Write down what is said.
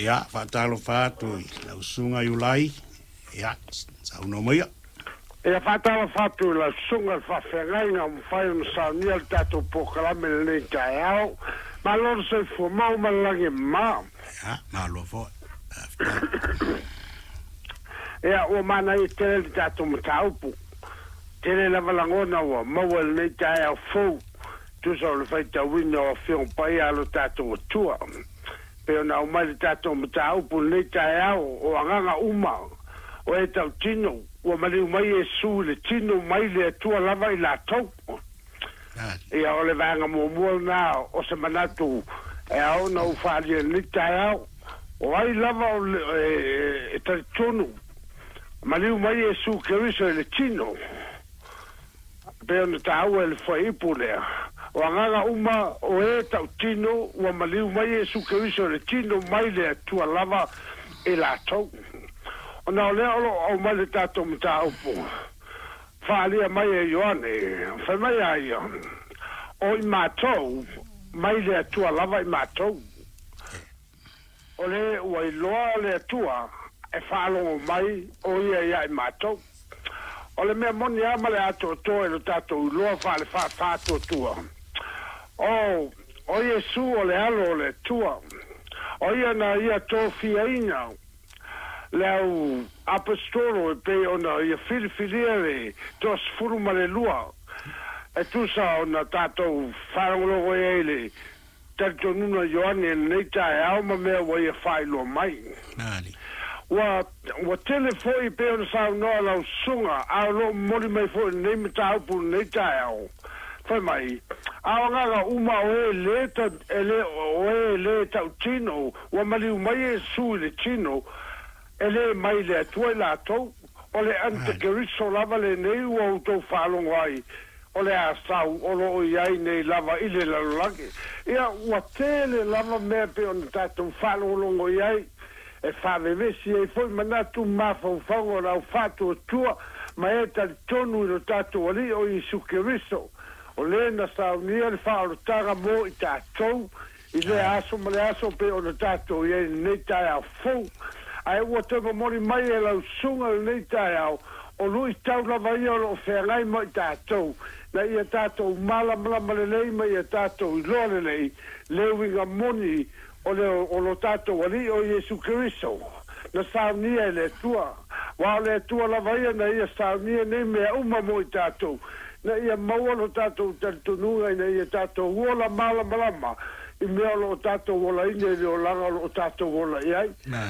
Ia, faatalofa atu i lau Susuga Iulai, ia, saunoa maia. Ia, faatalofa atu i lau Susuga i le Faafeagaiga ua mafai ona saunia le tatou polokalame i lenei taeao. Malo le soifua mau ma le lagi e mama. Ia, malo foi. Faafetai. Ia, ua manaia tele le tatou mataupu. Tele lava lagona ua maua i lenei taeao fou, tusa o le faitauina o Afioga Paia a lo tatou Atua. Pei ona aumai le tatou mataupu i lenei taeao, o agaga uma o e tautino, ua maliu mai Iesu i le tino mai le Atua lava i latou. Ia, o le vaega muamua lena o se manatu e ao ona ou faaalia i lenei taeao. O ai lava o e talitonu, maliu mai Iesu Keriso i le tino, pei ona taua e le fuaiupu lea, o agaga uma o e tautino ua maliu mai Iesu Keriso i le tino mai le Atua lava i latou. Ona o lea o lo o aumai le tatou mataupu, faaalia mai e Ioane, fai mai a ia, O i matou, mai le Atua lava i matou. O le ua iloa le Atua e faalogo mai o ia ia i matou. O le mea moni a ma le atoatoa i lo tatou iloa faale-faafaatoatua, o, o Iesu o le Alo o le Atua, o ia na ia tofiaina le au Aposetolo e pei ona ia filifilia le toasefulu ma le lua, e tusa ona tatou faalogologo i ai i le Talitonuga Ioane i lenei taeao ma mea ua ia faailoa mai. Ua, ua tele foi pei ona saunoa lau susuga, a o lo o momoli mai foi i lenei mataupu i lenei taeao. Fai mai, A o agaga uma o e lē ta, e lē, o e lē tautino, ua maliu mai Iesu i le tino, e lē mai le Atua i latou. O le Antikeriso lava lenei ua outou faalogo ai, o le a sau o lo o i ai nei lava i le lalolagi. Ia, ua tele lava mea pei ona tatou faalogologo i ai, e faavevesi ai foi manatu ma mafaufauga o le au faatuatua ma e talitonu i lo tatou Alii o Iesu Keriso, o le na saunia le faaolataga mo i tatou i lea aso ma le aso pei ona tatou i ai i lenei taeao fou. Ae ua toe momoli mai e lau susuga i lenei taeao, o luitau lava ia o lo o feagai ma i tatou, na ia tatou malamalama lelei ma ia tatou iloa lelei le uiga moni o le o lo tatou Alii o Iesu Keriso, na saunia e le Atua. Aua o le Atua lava ia na ia saunia nei mea uma mo i tatou, na ia maua lo tatou talitonuga ina ia tatou ola malamalama i mea o lo o tatou olaina i le olaga o lo o tatou ola i ai.